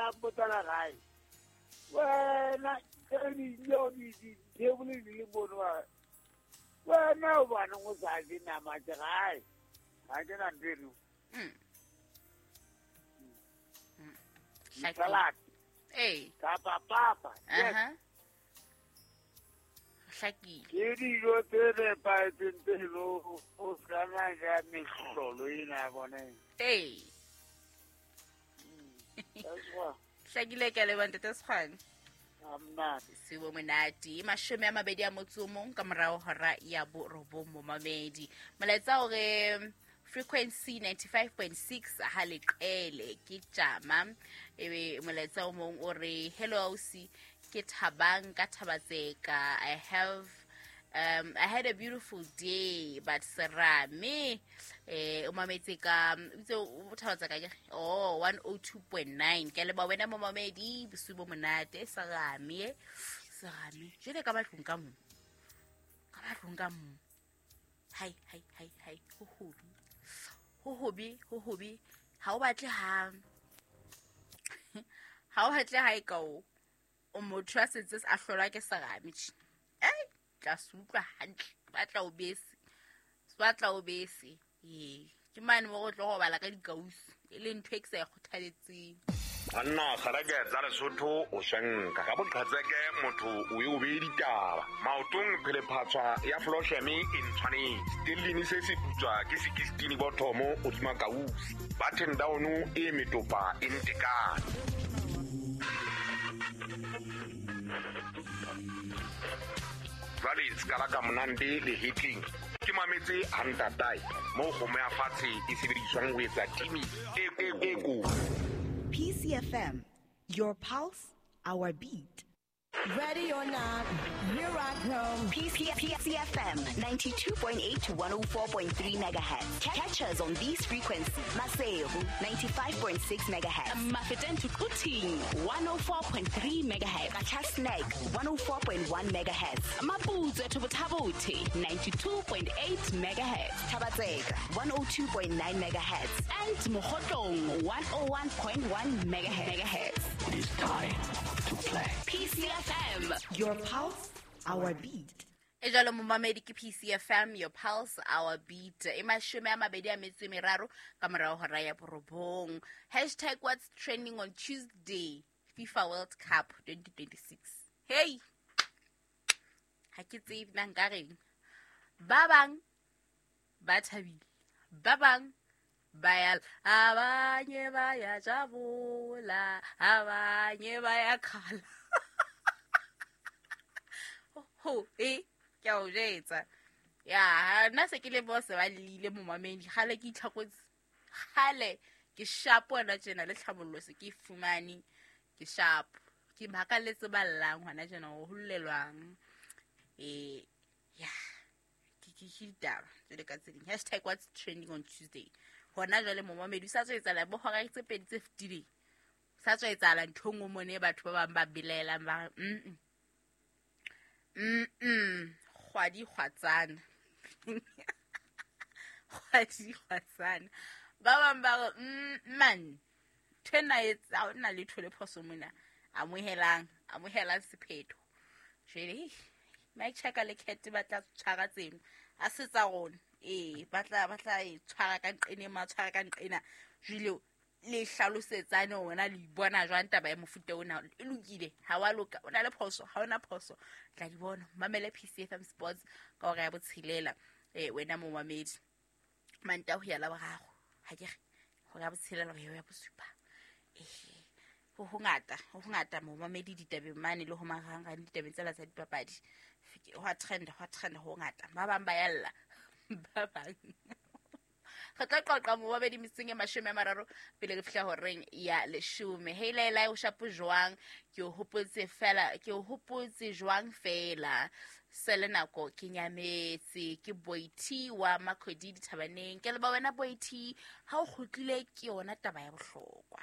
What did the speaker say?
la mpotsa gae. Wena ke dijo di table di le mono. Wena o bana go sa di nama tsa gae. Ga ke na nteno. Salad. Ee. Kapa papa. Aha. Hlakile. Ke dijo tse nepahetseng tse lo o kana ja mehlolo ena bone. Ee. That's why Hlakile, ke a leboha, ntate Sekgwane. I'm not. Sebo monate. 21 ka morao hora ya 9, momamedi. Molaetsa o re frequency 95.6 ha leqele ke tjama. Ebe molaetsa o mong o re hello ausi, ke Thabang ka Thabatseka. I had a beautiful day, but serame o mametse ka itse o Thabatseka ke oh 102.9. Ke leba wena momamedi, bosiu bo monate. Serame, serame jele ka batlong ka mo, ka batlong ka mo. Hai hai hai hai, ho hobi, ho hobi, ho hobi. Ha o batle ha, ha o batle ha e ka o o motho a setse a hlolwa ke serame tje. Ei, tla se utlwa hantle, ba tla o bese, ba tla o bese. Ee, ke mane mo go tlo go bala ka dikausu, e le ntho e ke sa e kgothaletseng. Banna kgareke tsa Lesotho o swenka ka boqhetseke, motho o e o beye ditaba maotong, phelephatswa ya flosheme e ntshwanetse stellini se se putswa ke 16 bothomo o kausi button down e metopa e ntekane. Jwale sekala ka monande le hitling ke mametse hantatae mo kgomo ya fatshe e sebediswang ho etsa timi e ko. PCFM, your pulse, our beat. Ready or not, here I come. PCFM 92.8 to 104.3 megahertz. Catch us on these frequencies. Maseru 95.6 megahertz. Mafeteng to Quthing 104.3 megahertz. Qacha's Nek 104.1 megahertz. Maputsoe to Botha-Bothe 92.8 megahertz. Thaba-Tseka 102.9 megahertz. And Mokhotlong 101.1 megahertz. It is time to play. PCFM, your pulse, our beat. E jalo momamedi, ke PCFM, your pulse, our beat. E 23 ka morao hora ya 9. Hashtag what's trending on Tuesday, FIFA World Cup 2026. Hey, ha ke tsebe na nka reng. Ba bang ba thabile, ba bang ba ya, abanye ba ya jabula, abanye ba ya khala. Ho e ke a o jetsa. Ya nna se ke le bo se ba lile momamedi, kgale ke itlhakotse, kgale ke sharp hona tjena le tlhabollo se ke fumane, ke sharp, ke makaletse ba llang hona tjena ho hollelwang. Ya ke ke ditaba jwale ka tse ding. Hashtag what's trending on Tuesday. Hona jwale momamedi o sa tswa etsahala bo hora tse 2 tse fetileng, sa tswa etsahala ntho e nngwe mone e batho ba bang ba belaelang ba re kgwadi kgwatsana. Kgwadi kgwatsana. Ba bang ba re man, ntho ena e etsa, ha hona letho le phoso mona. Amohelang, amohelang sephetho. Jwale Mike Chaka le Cat ba tla tshwara tseno, a se tsa rona. Ee, ba tla e tshwara ka nqena, ma tshwara ka nqena. Jwale le hlalosetsane hona le bona jwang taba ya mofuta ona e lokile, ha wa loka, o na le phoso, ha ona phoso, tla di bona. Mamele PCFM Sports ka hora ya 6. Wena momamedi, Manta ho ya la boraro, ha ke re hora ya 6 ho ya 7. Ho hongata momamedi ditabeng mane le ho marangrang ditabeng tsela tsa dipapadi. Ho a trend, ho ngata. Ba bang ba yalla, ba bang re tla qoqa momamedi metseng e 30 pele re fihla horeng ya 10. Hey Laila, o shapo jwang? Ke o hopotse fela, ke o hopotse jwang fela. Sele nako ke nyametse, ke Boiti wa Makhodi dithabaneng. Ke leba wena Boiti, ha o kgutlile ke yona taba ya bohlokwa.